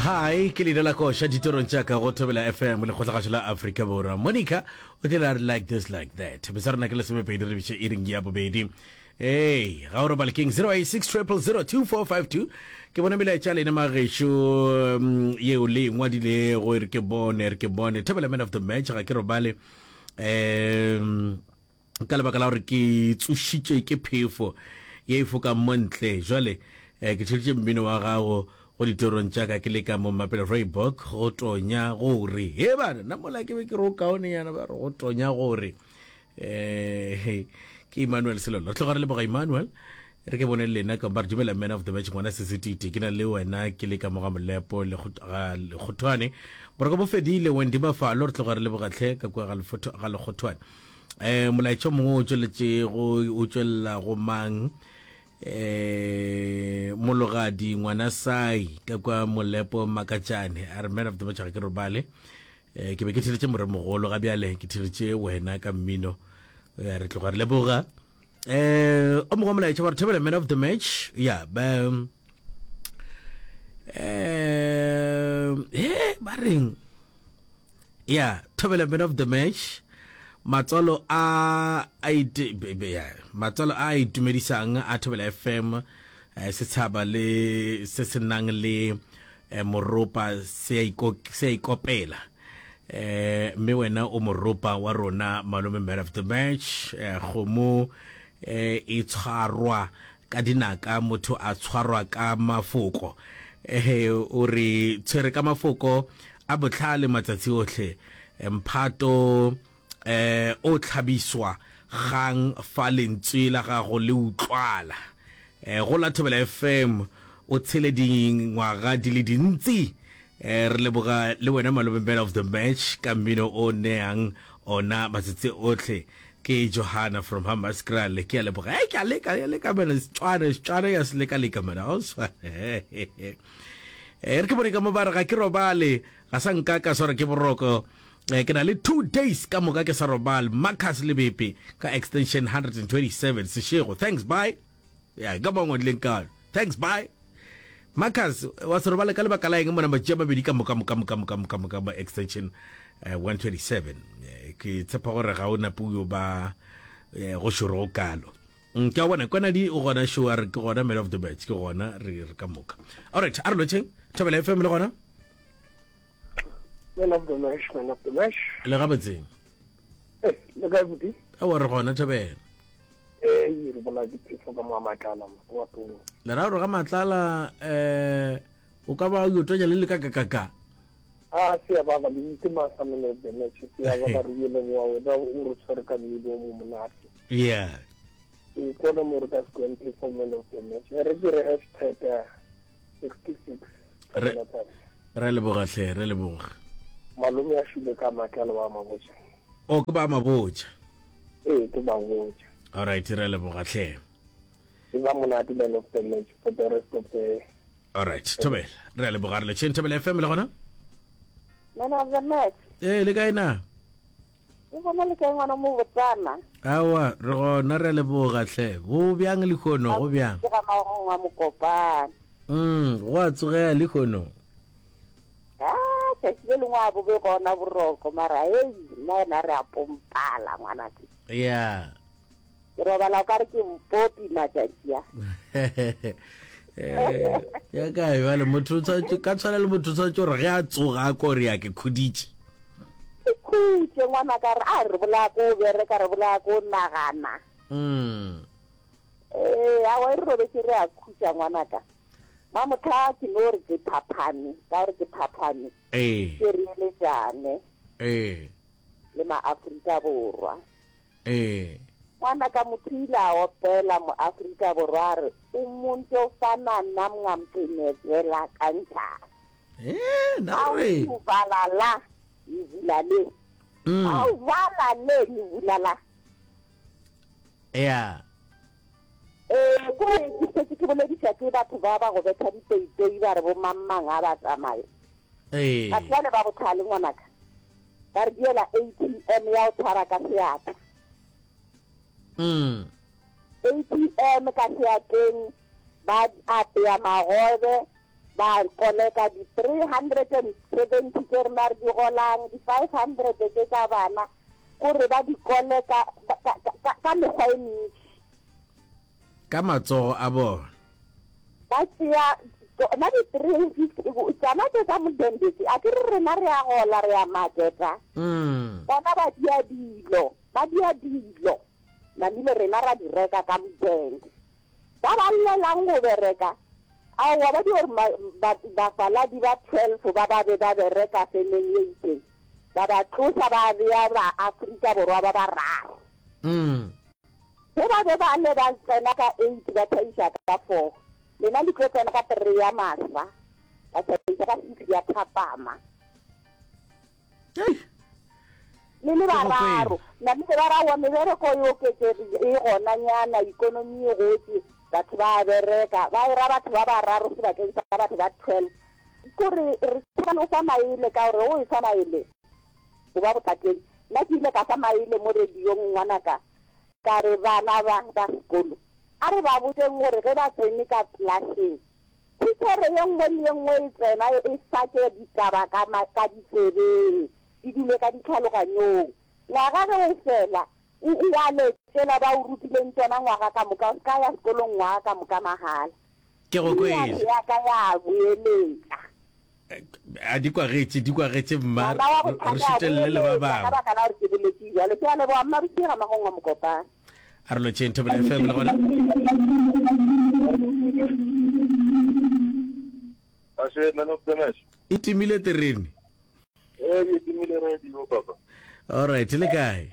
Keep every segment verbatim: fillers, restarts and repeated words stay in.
Hi, ke leina la koša ditorong tša ka go Thobela F M, lekgotlagašo la Afrika Borwa. Monica o tlile a re "Like This Like That". Besa rena ke lesomepedi re biše iring ya bobedi. Hey, ga o robale keng? zero eight six triple zero two four five two. Ke bona melaetša lena magešo um, yeo le ngwadilego. E re ke bone, re ke bone. Thobela man of the match, ga ke robale um ka lebaka la gore ke tsošitše ke phefo ye e fokang mo ntle. Jwale eh, ke theleditše mmino wa gago go ditorong tša ka ke le ka mo Mapele Rooibok. Go tonya gore he bana nna mola ke be ke re o kaone yana, ba re go tonya gore eh ke Emmanuel Selolo. Re tloga re leboga Emmanuel. Re ke bone le lena ka ba re dumela man of the match, ngwana sesititi ke na le wena ke le ka moga Molepo le Lekgothwane. Boroko bo fedile. Wendy Mafalo, re tloga re lebogatlhe ka kua ga Lekgothwane. um molaetša mongwe o tšweletšego o tšwelela go mang? um Mologadi ngwana sai ka kwa Molepo Makatšane a re, "Man of the match, ga ke robale. um ke be ke theletše moremogolo, ga bjale ke theletše wena ka mmino." Eh, re tloga re leboga. um o mongwe molaetša wa re, "Thobela man of the match." Ya ba um he ba reng? Ya, "Thobela man of the match, matswalo a a ite ya matswalo a itumedisang a Thobela F M, eh, setshaba le se se nang le eh, moropa se a se a ikopela, eh mme wena o moropa wa rona malome. Man of the match, eh, kgomo eh, e tshwarwa ka dinaka, motho a tshwarwa ka mafoko. eh o re tshwere ka mafoko a botlhale matsatsi otlhe. Mphato eh o tlhabiswa gang fa lentswe la gago le utlwala. eh go la Thobela F M, o tshele dingwaga di le dintsi. eh re leboga le wena malome man of the match ka mmino o neang ona matsatsi otlhe. Ke Johanna from Hammanskraal. Ke a leboga. E ke a leka, ya leka mena Setswana, Setswana ya se leka leka mena ga o swane. E re ke bone ka mo ba re, "Ga ke robale, ga sa nka ka swara ke boroko. Eh, ke na le two days ka moka ke sa robale." Marcus Lebepe ka extension one twenty-seven Seshego. Thanks, bye. Ya ka mo ngwadileng kalo. Thanks, bye. Marcus, wa se robale ka lebaka la eng mona matši a mabedi ka moka moka moka moka moka moka mo extension eh, one twenty-seven? Eh, ke tshepa gore ga o nape o ba eh, go šoro go kalo. Mm, ke a bona kwanadi o gona show a re ke gona man of the match, ke gona re re ka moka. Alright, a re lotšheng Thobela F M le gona. Man of the match, man of the match. Le gabotseng? Eh, le kae buti? Awa, re gona, Thobela. Eh, re bola ke phefo ka mo Matlala wa tong. Le ra gore ga Matlala um o ka ba o tonya le le ka kakaka. Ah, se ya ba ba le itse ma sa man of the match. Se ya ba ba re ile wa wena o re tshwere ka mmino o mo monate. Yeah. E kona mo re ka se kweng phefo man of the match. Re ke re hashtag sixty-six. Re re leboga hle, re leboga. Malome a shule ka Matlala wa mabotja. O ke ba mabotja? Eh, ke ba botja. Alright, re leboga hle. E ba monate, man of the match, for the rest of the Alright, Thobela, re a leboga. Re letšheng Thobela F M le gona. Man of the match. Ee, le kae na? O bona le kae ngwana mo botsana? Awa, re gona, re a leboga hle. Go bjang lekgono, go bjang? Ke ga magong wa Mokopane. mm go a tsogea lekgono. Ah, tšatši le lengwe a bobe gona boroko, mara ei, nna yena re a pompala ngwanake. Ya. Ke robala o ka re ke mpopi matšatši a. Eh, ya kae bale motho o tshwanetse ka tshwana le motho o tshwanetse gore ge a tsoga a ko re ya ke khuditše. Ke khutše ngwana ka re a re bolaya ko bereka, re bolaya ko nagana. mm Ee, awa, e re robetse re a khutša ngwanaka. Mamotha ke no re ke phaphame, ka gore ke phaphame. Ee. Ke re eletšane ee le maAfrika Borwa. Ee ngwana ka motho ile a opela mo Afrika Borwa a re umuntu ofana nam ngamcinezela kanjani. Ee, na re awuvala la, ngivula le. Mm awuvala le, ngivula la. Ya. Ee, kore ke setse ke bolediša ke batho ba ba go betha dipeipei, ba re bo mangmang a ba tsamaye. Ee batho bale ba botlhale ngwanaka, ba re diela A T M ya go tshwara ka seatla. mm A T M ka seatleng, ba apea magobe. Ba koleka di three hundred and seventy tše rena re di golang, di five hundred tše tša bana, kore ba di koleka ka, ka, ka, ka mekgwa e mentši. Ka matsogo a bona. Ba tšea tšona di three fifty, tšona tše tša modende tše, a ke re rena re a gola, re a marketa, bona ba dia dilo, ba dia dilo, namile rena ra di reka ka modende. Ba ba llelang go bereka, aowa, ba di gore bafaladi ba twelve ba ba be ba bereka femeng ye itšeng, ba ba tloša ba bea ba Afrika Borwa ba bararo. Ge ba be ba le ba tsena ka eight ba tšhaiša ka four, lena le tlo tsena ka three ya masa, ba tšhaiša ka six ya thapama. Le le bararo, namile ba ra aowa mebereko e oketšegile, e gona nyana, ikonomi e gotše, batho ba a bereka, ba era batho ba bararo sebakeng sa batho ba twelve. Kore re tshaba le go fa maele ka gore o efa maele o ba bothateng. Nna ke ile ka fa maele mo radiong ngwanaka, ka re bana ba ba sekolo a re ba botšeng gore ge ba tsene ka klaseng thitšhere ye nngwe le ye nngwe e tsena e fake ditaba ka ka ditsebeng di dule ka ditlhaloganyong. Ngwaga ge o fela o ngwale tšela ba o rutileng tšona ngwaga ka moka, o se ka ya sekolong ngwaga ka moka mahala. Ke go kwele. Nna ya ka ya boeletša. A di kwagetše, di kwagetše mma, Ngwana wa re bothata a šutelele le ba boeletša ka bangwe. baka la gore ke boletše bjalo. Ke a leboga mma Bosiga Magongwa Mokopane. A re lotšheng Thobela F M le gona. Ashe, man of the match. E timile terene. Ee, ke timile radio papa. All right, le kae?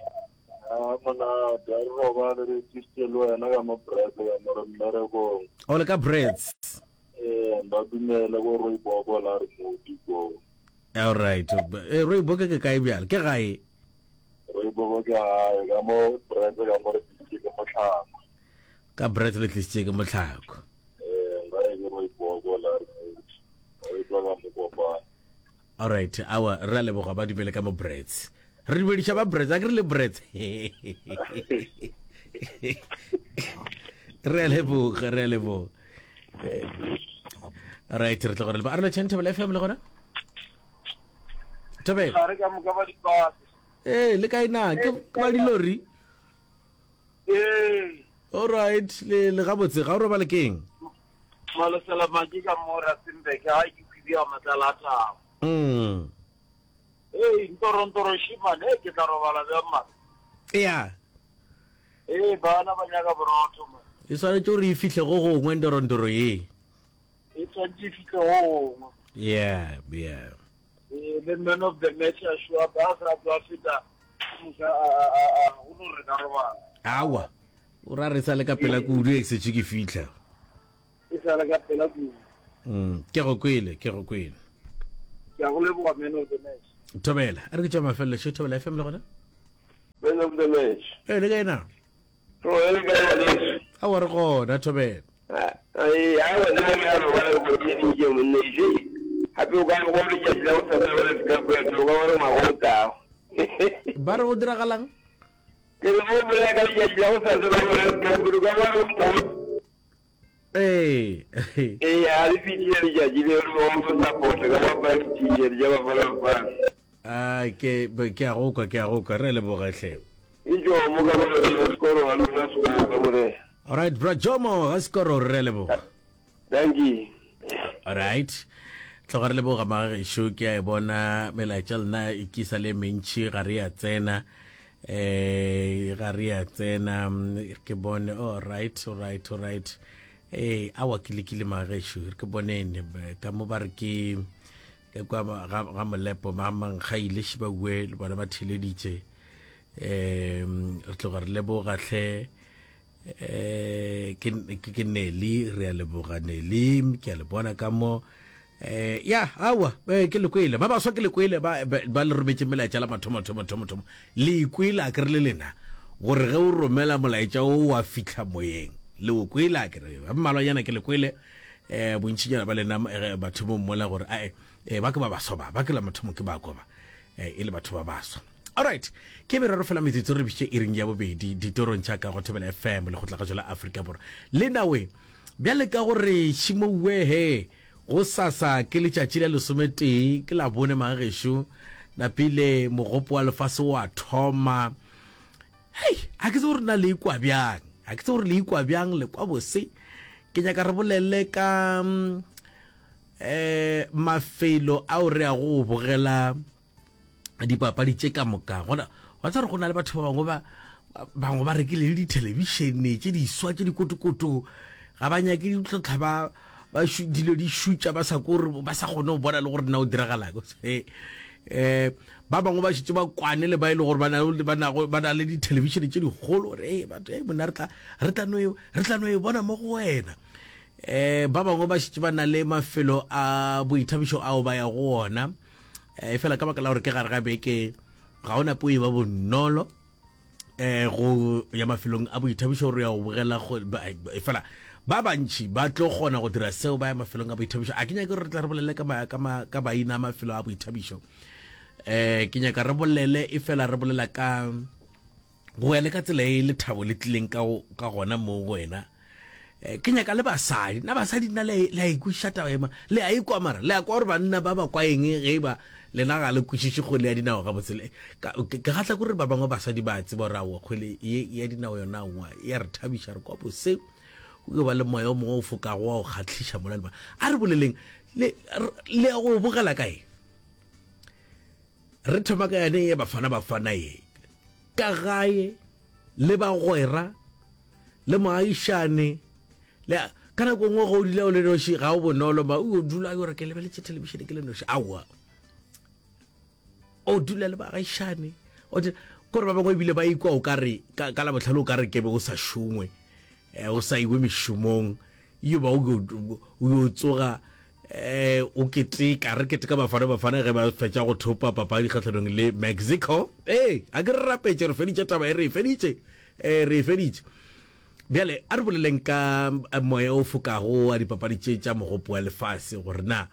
A monate, a re robale re tsisitse le wena ka mo bread ka mo re mmerekong. O le ka breads. Ee, ba dumele ko Rooiboko la re modi ko. All right. Eh, Rooiboko ke kae bjale? Ke gae. Rooiboko ke gae ka mo bread ka mo re tlisitse ke motlhako. Ka bread le tlisitse ke motlhako. Ee, gae ke Rooiboko la re modi. Re tswa ka Mokopane. All right, awa re a leboga ba dumele ka mo breads. Re dumediša ba breads, a ke re le breads. Re a leboga, re a leboga. All right, re tlo gore le ba. A re lotšheng Thobela F M le gona? Thobela. Gare ka moka ba dipase. Eh, le kae na? Ke ke ba dilori? Ee. All right, le le gabotse, ga o robale keng? Malosela maki ka mo Rustenburg, ga ke khwibia matlala a thabo. Mm. Ee, ntorontoro shimane, ee, ke tla robala bjang mara? Ya. Ee, bana ba nyaka borotho man. E swanetše gore e fihle go gongwe ntorontoro ye. E tshwanetse e fihle go gongwe. Yeah, yeah. Ee, le man of the match a show up, a sa tswa feta moka a a a a go no re ka robala. Awa. O ra re sa le ka pela kudu e setse ke fihla. E sa le ka pela kudu. Mm, ke go kwele, ke go kwele. Ke a go leboga man of the match. Thobela, a re ke tša mafelelo še Thobela F M le gona? Man of the match. Eh, le kae na? Ro le kae ngwaneso? Awa re gona Thobela. Ee, awa nna ke a robala go theeditše monne je. Gape o ka re go letšatši la go sasa World Cup ya tlo ka gore ngwaga o tlago. Ba re go diragalang? Ke re go bolela ka letšatši la go sasa la World Cup o ka gore ngwaga Ee. Ee, a le fihlile letšatši leo re go go support ka go apara di-t-shirt tša Bafana Bafana. Ah, ke ke a go kwa, ke a go kwa. Re a leboga hle. Ke Jomo ka mo ga Skoro ga lona Skoro ka morena. All right, bra Jomo ga Skoro re a leboga. Thank you. All right. Tloga re leboga magagešo, ke a e bona melaetša lena e kisa le mentši ga re ya tsena. Eh, ga re ya tsena ke bone. All right, all right, all right. Eh, awa ke lekile magagešo, re ke bonene ka mo ba re ke ke kwa ga ga Molepo ba mankgaile šibaue le bona ba theleditše. Eh, re tloga re leboga hle. Eh, ke ke Nelly, re a leboga Nelly, ke a le bona ka mo. Eh, ya, awa, eh, ke le kwele. Ba baswa ke le kwele, ba, ba, ba le rometše melaetša la mathomo, thomo, thomo, thomo. Le ikwele a ke re le lena, gore ge o romela molaetša o wa fihla moyeng. Le o kwele a ke re, ba mmalwanyana ke le kwele, eh, bontšinyana ba lena, eh, batho mo mmola gore, ae, eh, ba ke ba baswa ba, ba ke la mathomo ke ba kwa ba, eh, e le batho ba baswa. All right, ke merero fela metsotso re bitše iring ya bobedi ditorong tša ka go Thobela F M le go tlagatšo la Afrika Borwa. Le nawe, bjale ka gore šimouwe he, Go sasa ke letšatši la lesometee, ke Labone magagešo, napile mogopo wa lefase wa thoma. Hei, a ke tsebe gore na le ikwa bjang, a ke tsebe gore le ikwa bjang, le kwa bose. Ke nyaka re bolele ka um mafelo ao re yago go bogela dipapadi tše ka moka. Gona wa tseba gore go na le batho ba bangwe ba bangwe ba rekile le dithelebišene tše diswa tše dikotokoto, ga ba nyake ditlhotlha ba ba dilo di šutša ba sa kore ba sa kgone go bona le gore na o diragalang. Eh ba bangwe ba šetše ba kwane le ba e le gore ba na ba na ba na le dithelebišene tše dikgolo gore ee batho ee monna re tla re tla no e re tla no e bona mo go wena. Eh ba bangwe ba šetše ba na le mafelo a boithabišo ao ba ya go ona. Eh fela ka baka la gore ke gare ga beke ga ona po e ba bonolo eh go ya mafelong a boithabišo gore ya go bogela fela ba bantši ba tlo kgona go dira seo ba ya mafelong a boithabišo. A ke nyake gore re tla re bolele ka, ka, ka maina a mafelo a boithabišo, eh ke nyaka re bolele e fela re bolela ka go ya le ka tsela e lethabo le tlileng ka, ka gona mo go wena. Eh, ke nyaka le basadi, na basadi nna le a ikwešiša taba ema, le a ikwa mara le a kwa gore banna ba ba kwa eng ge ba lena ga le kwešiše kgwele ya dinao gabotse. Ke kgahla kore ba bangwe basadi ba tseba gore aowa kgwele ye ya dinao yona aowa ya re thabiša, re kwa bose, o ba le moya o mongwe o fokago wa go kgahliša mola le ba. A re boleleng le le ya go bogela kae? Re thoma ka yane ye Bafana Bafana ye ka gae le bagwera le moagišane le ka nako nngwe go dula o le noši ga o bonolo ma o dula o re ke lebeletše thelebišene ke le noši, aowa o dula le baagišane kore ba bangwe ebile ba ikwa o ka re ka Labohlano o ka re kebe o sa šongwe, o sa iwe mešomong, yo ba o yo tsoga eh o keteka, re keteka Bafana Bafana ge ba fetša go thopa papadi kgahlanong le Mexico. Ee, a ke re rapetše re feditše taba e, re e feditše, eh re e feditše. Bjale a re boleleng ka moya o fokago wa dipapadi tše tša mogopo wa lefase, gore na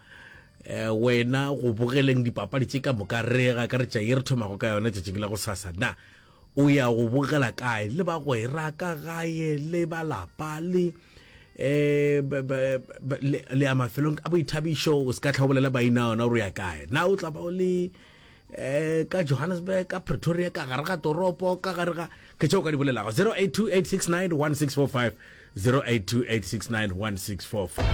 eh wena go bogeleng dipapadi tše ka moka re ga ka re tša ye re thomago ka yona tšatšing la go sasa, na o ya go bogela kae le bagwera ka gae le balapa le eh le ya mafelong a boithabišo, o se ka tla o bolela maina ona gore o ya kae, na o tla ba o le eh ka Johannesburg, ka Pretoria, ka gare ga toropo, ka gare ga ke tšeo ka di bolelago. Zero eight two eight six nine one six four five, zero eight two eight six nine one six four five.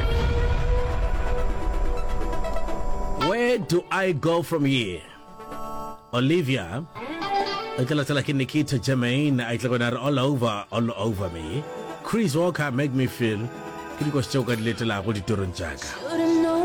Where do I go from here? Olivia e tla latela ke Nikita Jermaine, a itle gona re all over, all over me. Chris Walker, make me feel. Ke dikoši tšeo ka di letelago ditorong tša ka.